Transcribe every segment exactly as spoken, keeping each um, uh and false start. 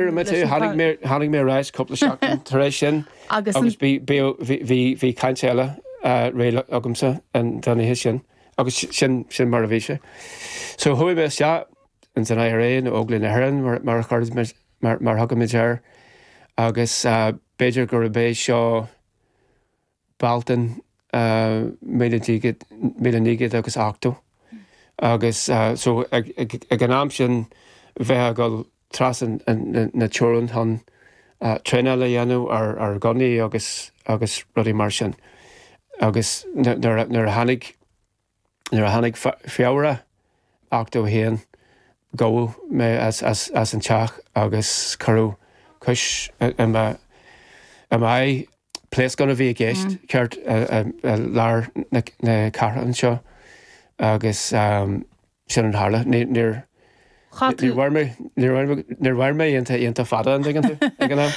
Tháinig mé tháinig mé ar ais cúpla seachtain tar éis sin Agus agus bhí bhí bhí caint eile réidh agamsa an don oíche sin agus sin sin mar a bhí sé. So chuaigh mé isteach in san I R A nó Óglaigh na hÉireann mar mar chuir mar mar thugaimid air agus uh, b'fhéidir gur bé seo Bealtaine míle naoi gcéad agus ochtó. Agus uh, so ag, ag, ag an am sin bheith ag trasna na teorann chun uh, traenáil a dhéanamh ar ar gunnaí agus agus rudaí mar sin. Agus nuair a tháinig nuair a tháinig Feabhra ochtó haon gabhadh mé as, as, as an teach agus cuireadh cúis i m'aghaidh. Pléascán a bhí i gceist mm. ceart lár na, na cathrach anseo agus um, sin an tharla níor níor mhair mé iontach fada an ag an am.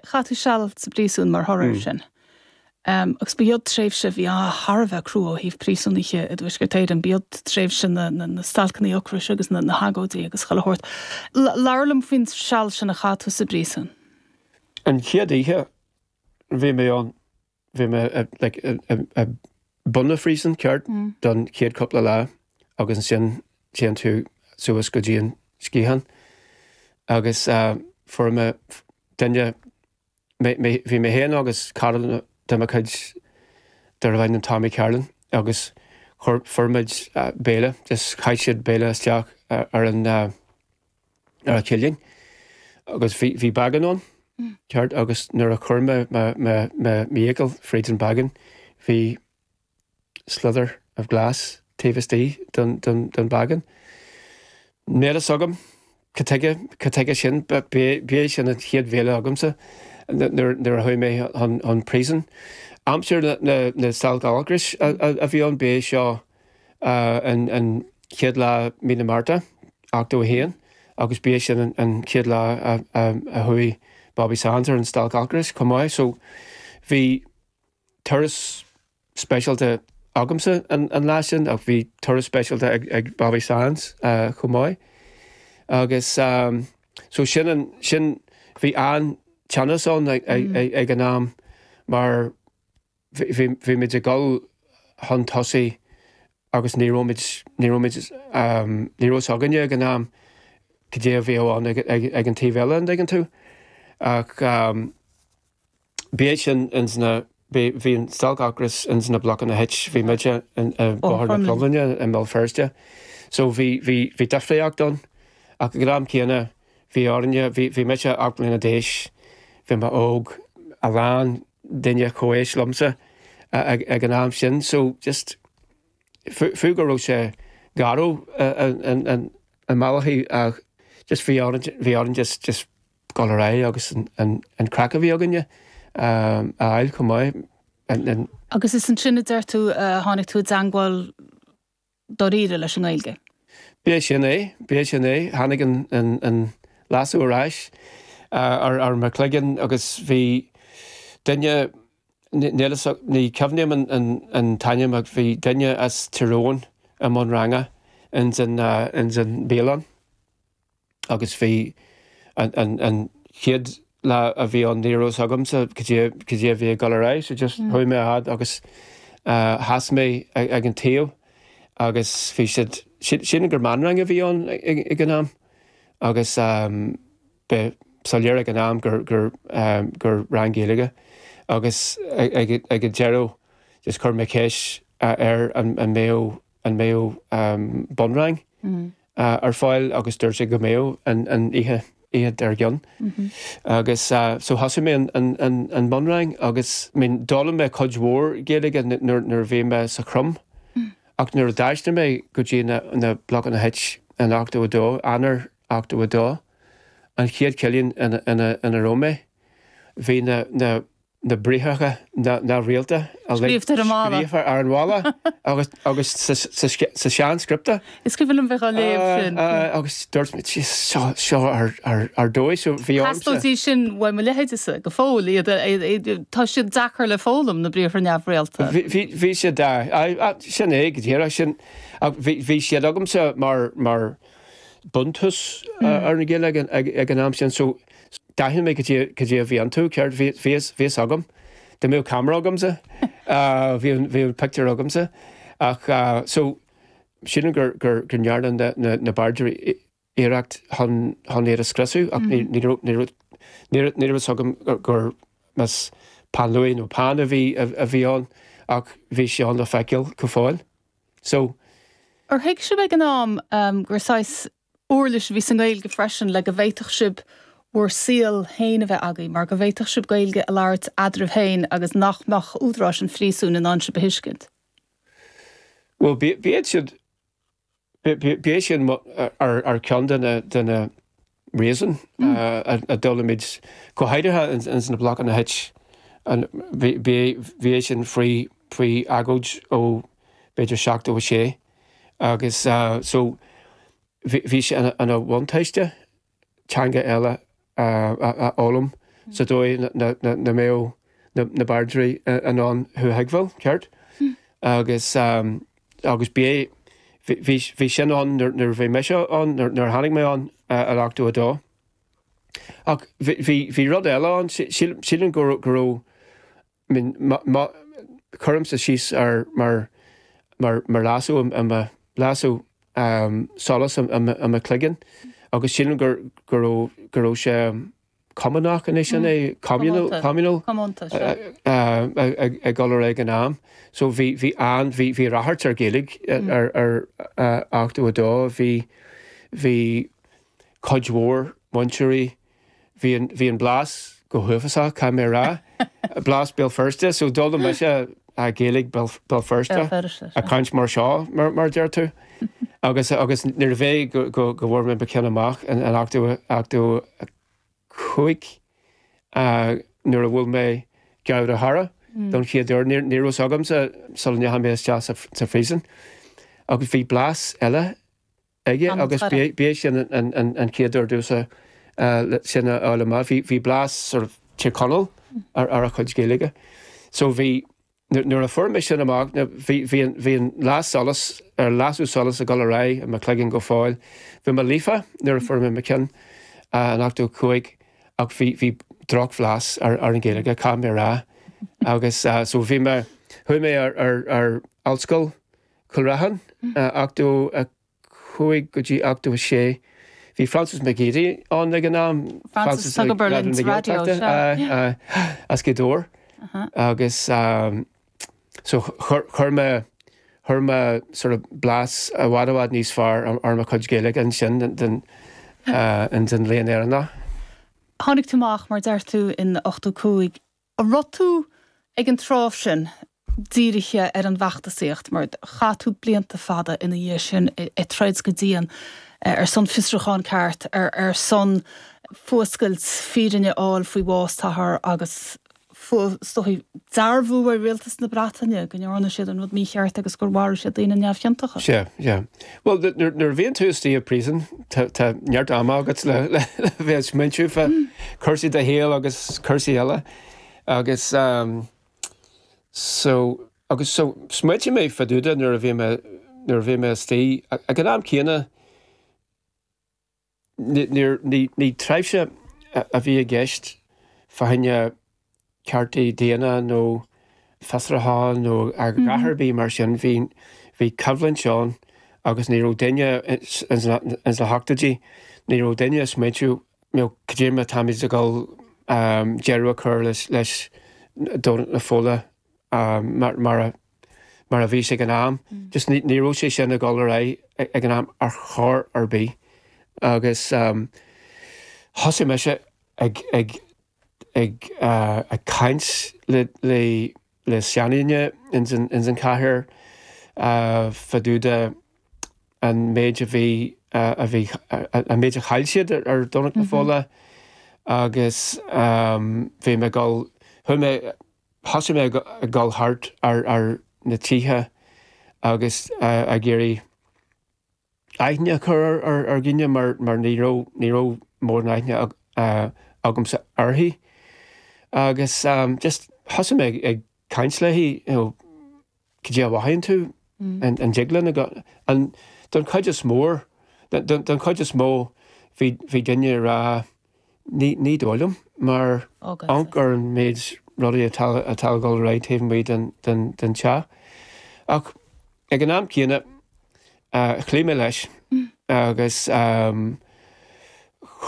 Chaith tú seal sa bpríosún mar thoradh mm. sin. Um, agus b'iod tréimhse bhí thar a bheith crua ó thaobh príosúnaithe i dTuaisceart Éireann, b'iod tréimhse na, na, na stailceanna ocrais agus na, na hagóidí agus chuile shórt. Labhair liom faoin seal sin a chaith tú sa bpríosún. An chéad oíche bhí mé an bhí mé i bun an phríosúin ceart mm. don chéad cúpla lá agus ansin téann tú suas go dtí an sciathán agus uh, fuair mé duine bhí mé féin agus cara de mo chuid darbh ainm Tommy Carlin agus fuair muid uh, béile just chaith siad béile isteach uh, ar an uh, ar an chillín agus bhí bhí beagán ann mm. ceart agus nuair a chuir mé m'fhiacail fríd an beagán bhí slither of glass taobh istigh den, den, den beagán. Níl a fhios agam cad chuige sin b'é sin an chéad bhéile agamsa nuair a chuaigh mé chun príosúin. Aimsir na, na stailc ocrais a bhí an bé seo an, an chéad lá mí na Márta ochtó haon agus b'é sin an chéad lá a chuaigh Bobby Sands ar an stailc ocrais chomh maith, so bhí turas speisialta agamsa an, an lá sin ach bhí turas speisialta ag, ag Bobby Sands uh, chomh maith. Agus um, so sin an, sin bhí an teannas ann ag, ag, mm. ag, ag an am mar bhí muid ag dul chun tosaigh agus ní raibh ní raibh um, ní raibh againne ag an am cad é a bhí ann ag, ag, ag an taobh eile an dtuigeann tú ach um, b'é sin ins na bhí an stailc ocrais ins na blocanna H bhí muide Bóthar na Cromghlinne i mBéal Feirste. So bhí bhí bhí difríocht ann ach ag an am céanna bhí orainne bhí mise ocht mbliana d'aois bhí mé óg a lán duine comhaois liomsa ag, ag an am sin, so just fiú go raibh sé garbh an malachaí ach just bhí bhí orainn just just dul ar aghaidh agus an, an, an craic a bhí againne um, a fháil chomh maith. Agus is ansin a deir tú tháinig tú i dteagmháil dáiríre leis an nGaeilge. B'é sin é, b'é sin é, tháinig an, an, an lasadh ar ais ar ar mo chloigeann agus bhí duine ní cuimhním an, an, an t-ainm ach bhí duine as Tyrone i mbun ranga in san uh, in san bialann agus bhí an, an, an chéad lá a bhí an ní raibh agamsa cad é a bhí ag dul ar aghaidh, so just mm. chuaigh mé fhad agus uh, sheas mé ag, ag an taobh agus bhí siad sin gur meánrang a bhí ann ag an am agus um, be soiléir ag an am gur gur um, gur rang Gaeilge agus ag ag an deireadh just chuir mé ceist ar an an mbeadh an mbeadh um, bunrang mm. uh, ar fáil agus dúirt sé go mbeadh an an oíche oíche dár gcionn. Mm -hmm. Agus uh, so thosaigh mé an, an, an, an bunrang agus min d'fhoghlaim mé cuid mhór Gaeilge nuair a bhí mé sa Chrom. Mm. Ach nuair a d'aistrigh mé go dtí na, na blocanna H an ochtó dó Eanáir ochtó dó an chéad chillín ina, ina, ina raibh mé bhí na, na, na briathra na, na rialta scríofa ar an bhalla agus agus sa, sa, sa sean-scripta. Is cuimhin liom bheith á léamh sin. Agus dúirt seo seo ar, ar, ar dóigh so bhí Theastódh sin uaidh mo leithéidese go fóill iad tá siad deacair le foghlaim na briathra neamhrialta. Bhí siad sin é go díreach sin bhí siad agamsa mar mar buntús ar na Gaeilge ag an am sin so D'aithin mé cad é cad é a bhí iontu, ceart bhí bhí fhios agam. Dá mbeadh camera agamsa bhí bhí an pictiúr agamsa ach so sílim gur gur gur ndearna na na na bairdeirí iarracht chun chun iad a scriosadh ach ní ní raibh ní raibh ní raibh ní raibh fhios agam gur gur más peann luaidhe nó peann a bhí a bhí ann ach bhí sé ann le feiceáil go fóill. So Ar thuig sibh ag an am um, gur saghas uirlis a bhí sa nGaeilge freisin le go bhféadfadh sibh bhur saol féin a bheith agaibh, mar go bhféadfadh sibh Gaeilge a labhairt eadraibh féin agus nach mbeadh údaráis an phríosúin in ann sibh a thuiscint. Well b'iad siad b'é sin ar ar ceann de na de na reason a d'fhoghlaim muid go háirithe in sna blocanna H bhí sin faoi faoi agóid ó b'fhéidir seachtó a sé agus so bhí sé ina bhuntáiste teanga eile a fhoghlaim sa dóigh na mbeadh na bairdeirí in ann thú a thuigbheáil ceart agus agus b'é bhí sin ann nuair a bhí mise ann nuair a tháinig mé ann in ochtó a dó. Ach bhí rud eile ann sílim go raibh cuirimse síos ar mar mar mar lasadh i lasadh solas i mo chloigeann agus sílim gur go raibh go raibh sé cumannach anois sin é communal communal ag dul ar ag an am. So bhí bhí an bhí bhí ráchairt ar Ghaeilge ar ar ochtó a dó bhí bhí cuid mhór múinteoirí bhí an bhí an blas go huafásach caithfidh mé rá blas Béal Feirste so d'fhoghlaim mise a Gaeilge Béal Feirste a caint mar seo mar mar deir tú agus agus nuair a bhí go go go bhfuair mé mo cheann amach an an ochtó ochtó cúig nuair a bhuail mé Gearóid Ó hEára don chéad uair ní raibh fhios agamsa sula ndeachaigh mé isteach sa phríosún agus bhí blas eile aige agus b'é sin an an chéad uair domhsa sin a fháil amach bhí bhí blas sort of Tír Chonaill ar ar a chuid Gaeilge. So bhí nuair a fuair mé sin amach bhí bhí bhí an las solas ar lasadh solas ag dul ar aghaidh i mo chloigeann go fóill. Bhí mé líofa nuair a fuair mé mo cheann in ochtó cúig ach bhí bhí drochbhlas ar ar an Ghaeilge caithfidh mé rá agus so bhí mé chuaigh mé ar ar ar ollscoil Chúil Raithin ochtó a cúig go dtí ochtó a sé. Bhí Francis McGeady ann ag an am Francis ag obair linn sa raidió, sea. as Gaoth Dobhair agus so chuir mé chuir mé sort of blas i bhfad i bhfad níos fearr ar mo chuid Gaeilge ansin den den Léann Éireannach. Tháinig tú amach mar deir tú in ochtó cúig. An raibh tú ag an tráth sin dírithe ar an bhfeachtasaíocht mar chaith tú blianta fada ina dhiaidh sin ag troid go dian ar son fiosrúchán ceart, ar ar son fuascailt fírinne a fháil faoi bhás t'athar agus is dóigh dearbhú ar rialtas na Breataine go ndearna siad an rud mícheart agus gur mharaigh siad daoine neamhchiontacha. Sea, sea. Bhuel, nuair a bhíonn tú istigh i bpríosún, tá neart ama agat le le bheith ag smaointiú fá cúrsaí do shaoil agus cúrsaí eile. Agus so agus so smaointigh mé fá dtaobh de nuair a bhí mé nuair a bhí mé istigh ag an am céanna ní ní ní tréimhse a bhí i gceist fá choinne cearta daonna nó fiosrúchán nó a dhath ar bith mar sin bhí bhí coimhlint ann agus ní raibh duine ins na hochtóidí ní raibh duine ag smaointiú nó cad é mar táimid ag dul deireadh a chur leis leis Domhnach na Fola mar mar a mar a bhí sé ag an am. Just ní ní raibh sé sin ag dul ar aghaidh ag an am ar chor ar bith agus thosaigh mise ag ag ag ag caint le le le seandaoine ins an ins an chathair fá dtaobh de an méid a bhí a bhí an méid a chaill siad ar Domhnach na Fola agus bhí mé ag dul chuaigh mé thosaigh mé ag dul thart ar ar na tithe agus ag iarraidh aithne a chur ar ar dhaoine mar mar ní raibh ní raibh mórán aithne agamsa uirthi agus just thosaigh mé ag caint léi you know cad é a mhothaíonn tú an an dtig linn an don chuid is mór don chuid is mó bhí bhí duine ag rá Ní ní dóigh liom mar amharc ar an méid rudaí atá atá ag dul ar aghaidh taobh amuigh den den den teach. Ach ag an am céanna chloígh mé leis agus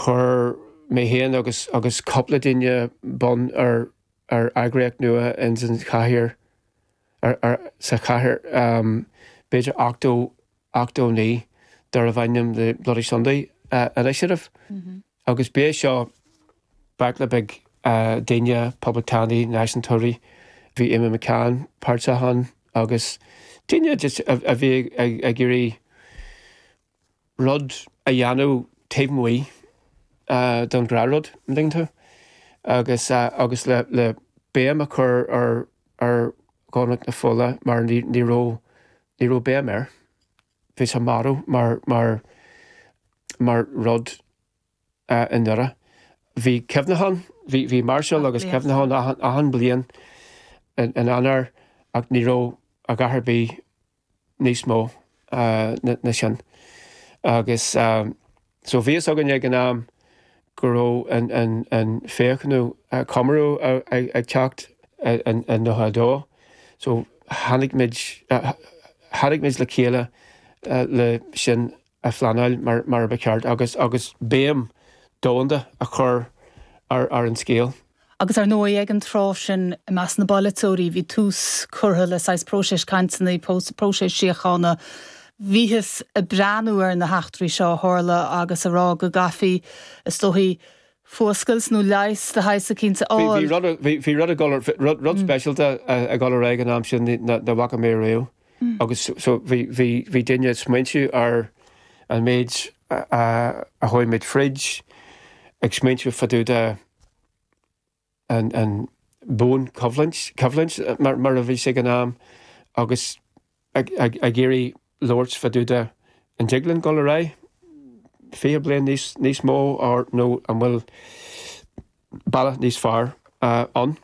chuir mé féin agus agus cúpla duine bun ar ar eagraíocht nua ins an chathair ar ar sa chathair b'fhéidir ochtó ochtó naoi darbh ainm the Bloody Sunday Initiative. Agus b'é seo baicle beag daoine, poblachtánaigh, náisiúntóirí, bhí Amy McCann páirteach ann agus daoine just a bhí ag iarraidh rud a dhéanamh taobh amuigh don ghnáthrud, an dtuigeann tú? Agus agus le le béim a chur ar ar Dhomhnach na Fola mar ní ní raibh ní raibh béim air. Bhí sé marbh mar mar mar rud i nDoire. Bhí cuimhneachán, bhí bhí máirseáil agus cuimhneachán achan achan bliain in Eanáir ach ní raibh a dhath ar bith níos mó ná sin. Agus so bhí fhios againn ag an am go raibh an an an fiche nó comóradh ag teacht in nócha a dó. So tháinig muid tháinig muid le chéile le sin a phleanáil mar mar a ba cheart agus agus béim domhanda a chur ar ar an scéal. Agus ar ndóigh ag an tráth sin i measc na bpolaiteoirí bhí tús curtha le saghas próiseas cainteanna, próiseas síochána. Bhíothas ag breathnú ar na heachtraí seo a tharla agus a rá go gcaithfí is dóichí fuascailt nó leigheas de shaghas eicínt a fháil. Bhí bhí rud ag dul rud rud speisialta ag dul ar aghaidh an am sin nach bhfaca mé riamh agus so bhí bhí bhí daoine ag smaointiú ar an méid a chuaigh muid fríd ag smaointiú fá dtaobh de an an buanchoimhlint coimhlint mar mar a bhí sé ag an am agus ag ag ag iarraidh labhairt fá dtaobh de an dtig linn dul ar aghaidh fiche bliain níos níos mó or nó an bhfuil bealach níos fearr ann.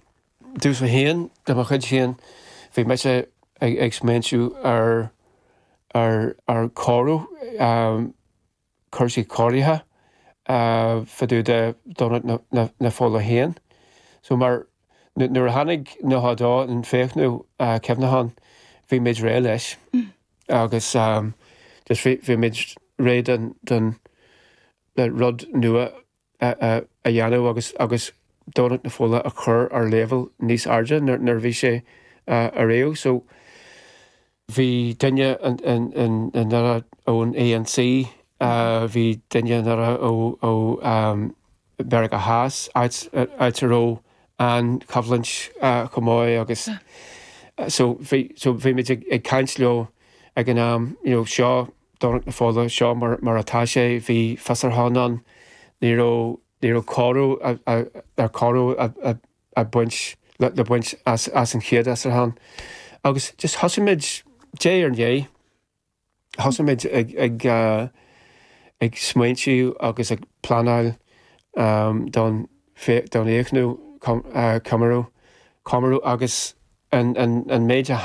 Domsa féin de mo chuid féin bhí mise ag ag smaointiú ar ar ar chóiriú cúrsaí cóirithe fá dtaobh de Dhomhnach na na na Fola féin. So mar nuair a tháinig nócha a dó an fiche nó cuimhneachán bhí muid réidh leis agus just bhí bhí muid réidh don don le rud nua a a dhéanamh agus agus Domhnach na Fola a chur ar leibhéal níos airde nuair nuair a bhí sé ariamh. So bhí duine in in in in Doire ón ANC, bhí duine i nDoire ó ó Mheiriceá Theas áit áit a raibh an choimhlint chomh maith agus so bhí so bhí muid ag ag caint leo ag an am you know seo Domhnach na Fola seo mar mar atá sé bhí fiosrúchán ann ní raibh ní raibh cóiriú ar cóiriú a a baint le le baint as as an chéad fhiosrúchán agus just thosaigh muid diaidh ar ndiaidh thosaigh muid ag ag ag smaointiú agus ag pleanáil don don fhiche nó comóradh comóradh agus an an an méid a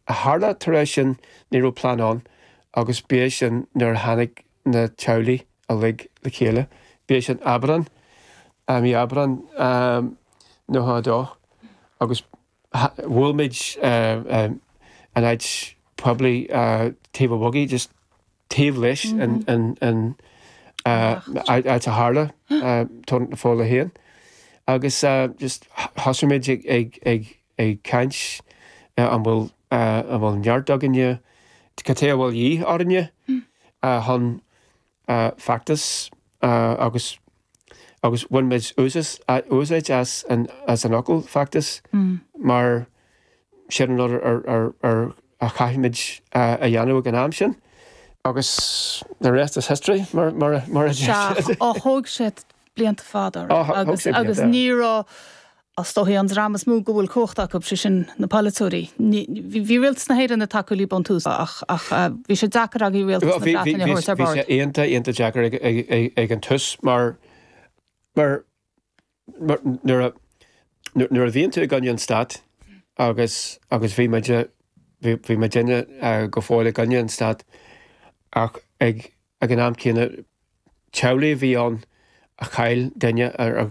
a tharla tar éis sin ní raibh plean ann agus b'é sin nuair a tháinig na teaghlaigh uilig le chéile. B'é sin Aibreán mí Aibreán nócha a dó agus bhuail muid an áit poiblí taobh an bhogaigh just taobh leis an an an áit a tharla Domhnach na Fola féin agus just thosaigh muid ag ag ag ag caint an bhfuil an bhfuil neart againne cad é a bhfuil de dhíth orainne chun feachtas agus agus bhain muid úsáid as an as an fhocal feachtas mar sin an rud ar ar ar a chaithfimid a dhéanamh ag an am sin. Agus the rest is history mar mar mar a Ó thóg sé blianta fada agus agus ní raibh is dóichí an dream is mó go bhfuil cumhacht acu sé sin na polaiteoirí. Bhí rialtas na hÉireann ag tacú libh ón tús ach ach bhí sé deacair agaibh rialtas na Breataine a thabhairt ar bord. Bhí sé iontach iontach deacair ag ag ag an tús mar mar nuair a nuair a bhíonn tú i gcoinne an stát agus agus bhí muid bhí muidinne go fóill i gcoinne an stát ach ag ag an am céanna teaghlaigh a bhí ann a chaill duine ar